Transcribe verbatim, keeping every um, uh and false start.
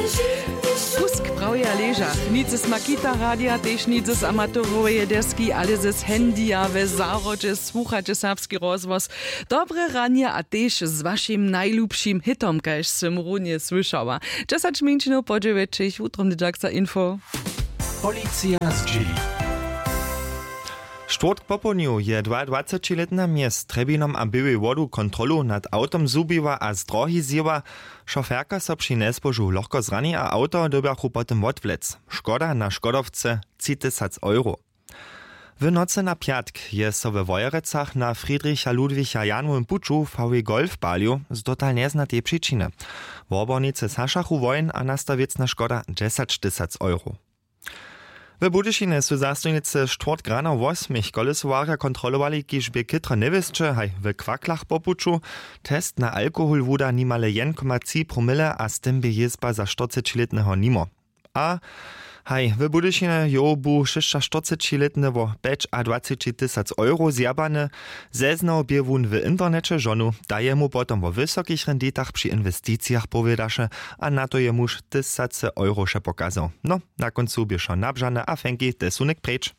Kusk prawja leža. Nic z makita radija tež nic z amatoroweje deski ale z handya we zahrodźe słuchaće serbski rozhłos. Dobre ranje a tež z wašim najlubšim hitom kaž sym runje słyšała. Dźesać mjeńšinow po dźewjećich wutrobny dźaksa info. Policija zdźěli. Štwórtk popołdnju je dwaadwacećilětna mjez trjebinom a běłej wodu kontrolu nad awtom zhubiła a z drohi zjěła. Šoferka so při njespožu lochko zrani a awto dyrbjachu potom wotwlec. Škoda na škodowce tři tysac euro. W nocy na pjatk je so we wojerecach na friedricha ludwicha janowym puću vw golf palił z dotal njeznatej přičiny. Wobornicy sašachu wojen a nasta wěcna škoda dźesać tysac euro. W budyšinje su zastojnicy štwórtk rano wosmich kolesowarja kontrolowali kiž bě chětro njewěsće haj w kwaklach po puću. Test na alkohol wuda nimale jedn koma tři promile a z tym bě jězba za štyrcećilětneho nimo. A haj w budyšinje jow bu šěsćaštyrcećilětny wo pjećadwaceći tysac euro zjabany. Zeznał bě wón w interneće žonu, ta je mu potom wo wysokich renditach při inwesticijach powědaše. A na to je muž tysace euro wšepokazał. No, na kóncu běšo nabžane a fenki te su něk preč.